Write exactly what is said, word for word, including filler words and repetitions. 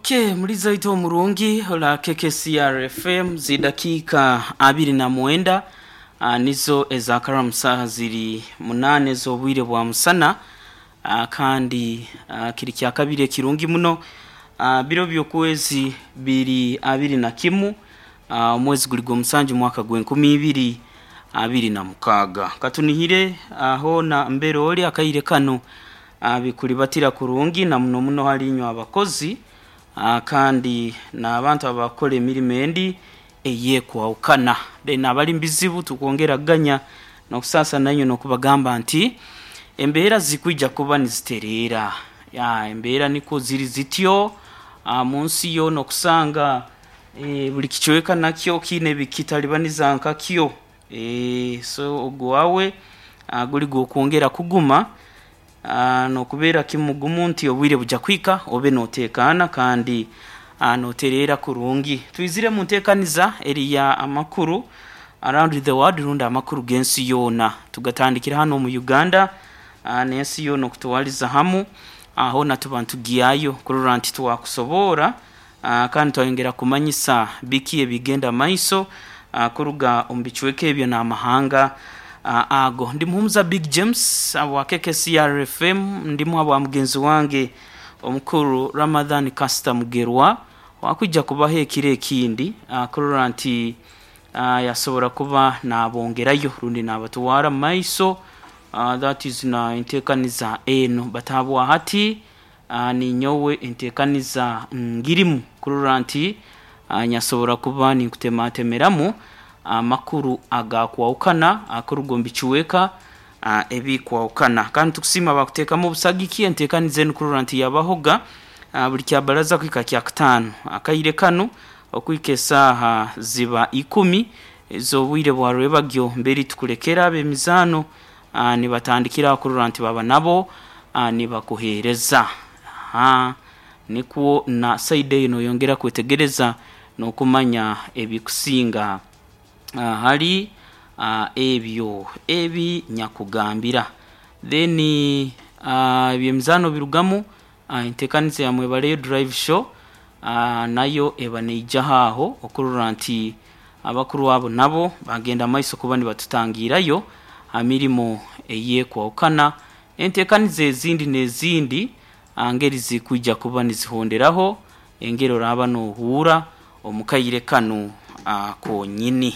Okay, muliza waitu omurungi ola K K C R F M, zidakika abiri na mwenda uh, nizo ezakaramu saha ziri munane z'obwire bwa musana, uh, kandi uh, kiri kya kabiri ekirungi muno, uh, biro by'okwezi biri abiri na kimu, uh, omwezi guli gw'omusanju, mwaka gw'enkumi ibiri abiri na mukaaga. Katunihire aho na mbere oli akaire kano uh, bikulibatira kurungi na muno muno hali inywe abakozi, uh, kandi n'abantu abakora emirimo endi eyekwawukana, then abali mubizibu tukwongera ganya n'okusaasa nanywe n'okubagamba nti embeera zikwija kuba nizitereera. Ya embeera nikwo ziri zityo uh, munsi yo n'okusanga e, buli kicweka nakyo kiine bikitalibaniza nkakyo. e, so ogwawe uh, guli gwokwongera kuguma uh, n'okubeera kimugumu nti obwire buja kwika obe notekana kandi uh, notereera kurungi. Twizire mu nteekaniza eriya amakuru around the world, rundi amakuru g'ensi yoona, tugatandikira hano mu Uganda uh, n'ensi yoona okutwaliza hamu. Aho natuba ntugyayo kurora nti twakusoboora uh, kandi twayongera kumanyisa biki ebigenda maiso uh, kuruga omu bicweka ebyo n'amahanga uh, ago. Ndi Muhumuza Big James wa K K C R F M, ndimu abwa mugenzi wange omukuru Ramadhan Caster Mugerwa, wakwija kubaho ekiro ekindi uh, kurora nti uh, yasobora kuba nabongerayo rundi nabatwara mu maiso, uh, that is na enteekaniza eno batabwa hati. uh, ninyowe enteekaniza ngirimu kurora nti uh, nyasobora kuba ninkutematemeramu amakuru agakwawukana akuruga omu bicweka uh, ebikwawukana. Kandi tukusiima bakuteekamu obusagiki enteekaniza enu kurora nti yabahoga uh, buli kyabaraza kuhika kyakutaano akaire kanu okuhika esaaha ziba ikumi ez'obwire bwa rwebagyo, mbere tukulekera ab'emizaano uh, nibatandikira kurora nti baba nabo uh, nibakuheereza. Aha, nikwo na side eyo noyongera kwetegereza n'okumanya ebikusinga uh, hali uh, ebyo ebi nyakugambira. Then uh, ebyemizaano birugamu uh, enteekaniza ya Mwebaleyo Drive Show uh, nayo eba neijaho aho okurora nti abakuru abo nabo bagenda maiso kuba nibatutangirayo ha mirimo eyekwawukana, enteekaniza ezindi n'ezindi ngeri zikwija kuba nizihonderaho engeri oraba nohuura omu kaire kanu uh, konyini.